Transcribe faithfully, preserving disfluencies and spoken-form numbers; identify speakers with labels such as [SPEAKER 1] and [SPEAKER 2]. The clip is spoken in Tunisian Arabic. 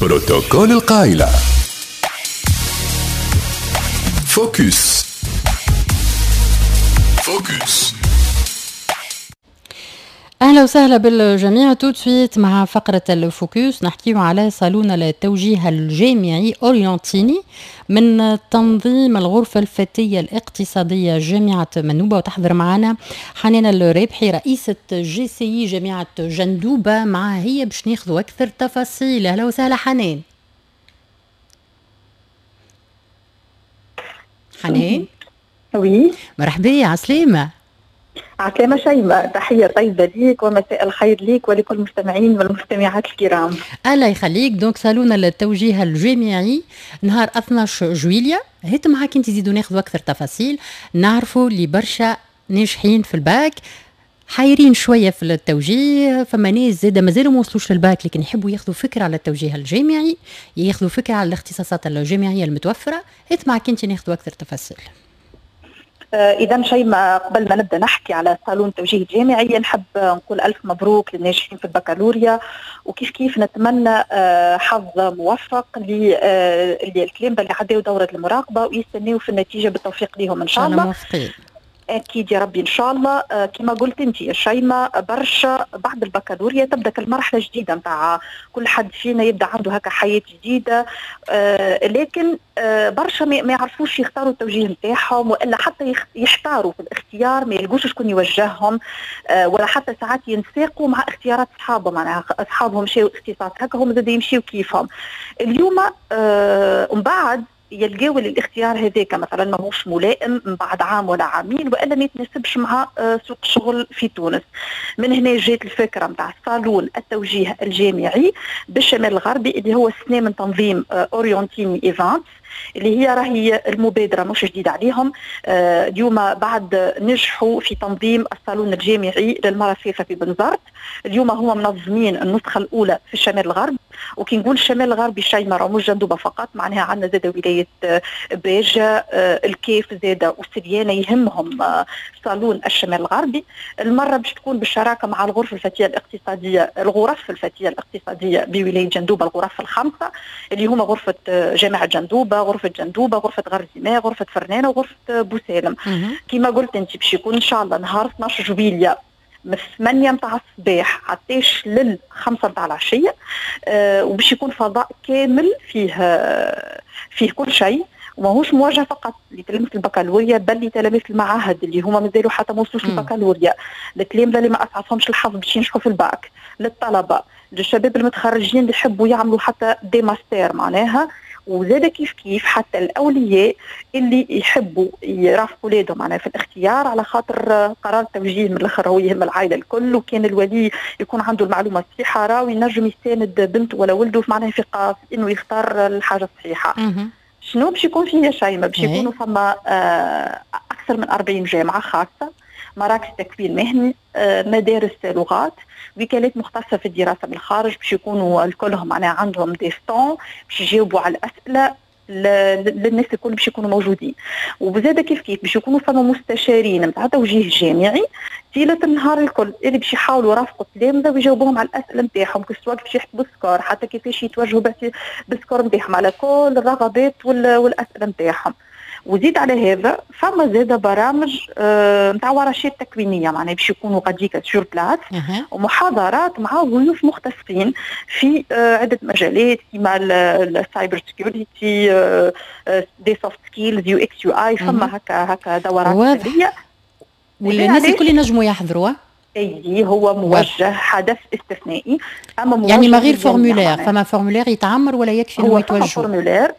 [SPEAKER 1] بروتوكول القايلة. focus focus.
[SPEAKER 2] اهلا وسهلا بالجميع. tout de suite مع فقره ال focus نحكيو على صالون التوجيه الجامعي اورينتيني من تنظيم الغرفة الفتية الاقتصادية جامعه منوبه، وتحضر معنا حنان الرابحي رئيسه JCI جامعه جندوبه، معها هي باش ناخذوا اكثر تفاصيل. اهلا وسهلا حنان. حنان
[SPEAKER 3] oui،
[SPEAKER 2] مرحبا، عسلامة.
[SPEAKER 3] عسلامة شيماء، تحية طيبة ليك ومساء الخير ليك ولكل المستمعين والمستمعات الكرام.
[SPEAKER 2] الله يخليك. donc صالون التوجيه الجامعي نهار اثناش جويليا، هات معاك انت زيدوا ناخذوا اكثر تفاصيل. نعرفوا اللي برشا ناجحين في الباك حايرين شوية في التوجيه، فما ناس زاده مازالوا ما وصلوش للباك لكن يحبوا ياخذوا فكرة على التوجيه الجامعي، ياخذوا فكرة على الاختصاصات الجامعية المتوفرة. هات معاك انت ناخذوا اكثر تفاصيل.
[SPEAKER 3] إذا شيماء، قبل ما نبدأ نحكي على صالون التوجيه الجامعي نحب نقول ألف مبروك للناجحين في البكالوريا، وكيف كيف نتمنى حظ موفق للتلامذة اللي عداو دورة المراقبة ويستناو في النتيجة بالتوفيق ليهم إن شاء الله.
[SPEAKER 2] موفقين
[SPEAKER 3] اكيد يا ربي ان شاء الله. كما قلت انت يا شيماء، برشا بعد البكالوريا تبدا المرحلة جديدة نتاع كل حد فينا يبدا عنده هكا حياة جديدة، آه لكن آه برشا ما يعرفوش يختاروا التوجيه نتاعهم، والا حتى يحتاروا في الاختيار، ما يلقوش شكون يوجههم، آه ولا حتى ساعات ينساقوا مع اختيارات اصحابهم، معناها اصحابهم مشاو اختصاص هكا هم زاد يمشيو كيفهم. اليوم آه ومن بعد يلقاو الاختيار هذاك مثلا ماهوش ملائم من بعد عام ولا عامين، والا ما يتناسبش مع سوق الشغل في تونس. من هنا جات الفكرة نتاع صالون التوجيه الجامعي بالشمال الغربي اللي هو السنة من تنظيم اورينتيني ايفانتس، اللي هي راهي المبادرة مش جديدة عليهم. اليوم بعد نجحوا في تنظيم الصالون الجامعي للمرة الثالثة في بنزرت، اليوم هما منظمين النسخة الاولى في الشمال الغربي. وكي نقول الشمال الغربي شيماء راه مش جندوبه فقط، معناها عندنا زاد ولاية باجه، الكيف زاد وسريانه يهمهم صالون الشمال الغربي. المرة باش تكون بالشراكة مع الغرفة الفتية الاقتصادية، الغرف الفتية الاقتصادية بولاية جندوبه، الغرف الخمسة اللي هما غرفة جامعه جندوبه، غرفة جندوبه، غرفة غرزيماء، غرفة فرنانه، وغرفه بوسالم. كما قلت انت باش يكون ان شاء الله نهار اثناش جويليا من ثمانية متاع الصباح حتىش لل خمسة متاع العشية، أه وباش يكون فضاء كامل فيه فيه كل شيء، وماهوش موجه فقط لتلاميذ البكالوريا بل لتلاميذ المعاهد اللي هما مازالوا حتى ما وصلوش للبكالوريا، للتلامذه اللي ما اسعفهمش الحظ باش ينجحوا في الباك، للطلبة، للشباب المتخرجين اللي يحبوا يعملوا حتى des masters معناها، وزاد كيف كيف حتى الاولياء اللي يحبوا يرافقوا اولادهم معناها في الاختيار، على خاطر قرار التوجيه من الاخر هو يهم العائلة الكل، وكان الولي يكون عنده المعلومة الصحيحة راهو ينجم يساند بنته ولا ولده معناها في انه يختار الحاجة الصحيحة. شنو باش يكون فيه يا شيماء؟ باش يكونوا فما آه اكثر من أربعين جامعه خاصة، مراكز تكوين مهني، آه مدارس لغات، وكالات مختصة في الدراسة بالخارج، باش يكونوا الكلهم معناها عندهم des stands باش يجاوبوا على الاسئلة للناس الكل باش يكونوا موجودين. وبزاده كيف كيف باش يكونوا فما مستشارين نتاع توجيه جامعي طيلة النهار الكل اللي باش يحاولوا يرافقوا التلامذه ويجاوبوهم على الاسئلة نتاعهم، سواء باش يحسبوا ال score، حتى كيفاش يتوجهوا بال score نتاعهم على كل الرغبات والاسئلة نتاعهم. وزيد على هذا فما زاد برامج نتاع آه ورشات تكوينيه معناها باش يكونوا غاديكا sur place، ومحاضرات مع ضيوف مختصين في آه عده مجالات كيما ال cyber security، des soft skills، UX UI، فما هكا هكا دورات فنية
[SPEAKER 2] والناس الكل ينجموا يحضروا.
[SPEAKER 3] اي هو موجه حدث استثنائي،
[SPEAKER 2] اما موجه يعني ما غير formulaire، فما formulaire يتعمر ولا يكفي انه يتوجهوا؟
[SPEAKER 3] formulaire.